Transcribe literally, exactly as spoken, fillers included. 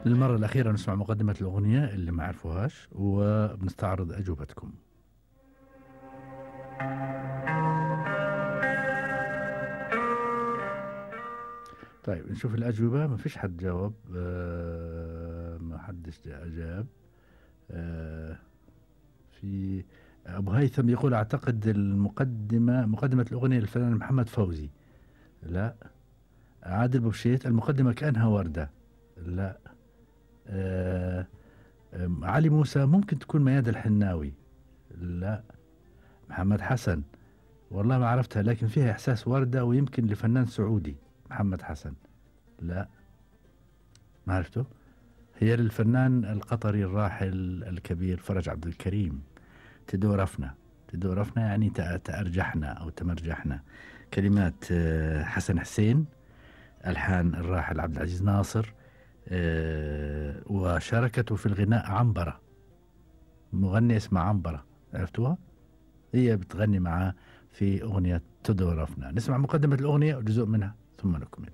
للمرة الأخيرة نسمع مقدمة الأغنية اللي ما عرفوهاش وبنستعرض أجوبتكم. طيب نشوف الأجوبة. ما فيش حد جاوب، آه ما حدش أجاب. آه في أبو هيثم يقول أعتقد المقدمة مقدمة الأغنية للفنان محمد فوزي. لا. عادل بوشيت المقدمة كأنها وردة. لا. آه علي موسى ممكن تكون مياد الحناوي. لا. محمد حسن والله ما عرفتها لكن فيها إحساس وردة ويمكن لفنان سعودي. محمد حسن. لا ما عرفته. هي للفنان القطري الراحل الكبير فرج عبد الكريم. تدورفنا تدورفنا يعني تأرجحنا أو تمرجحنا. كلمات حسن حسين، ألحان الراحل عبد العزيز ناصر، وشاركته في الغناء عنبرة، مغني اسمه عنبرة. عرفتوها؟ هي بتغني معاه في أغنية تدورفنا. نسمع مقدمة الأغنية وجزء منها ثم نكمل.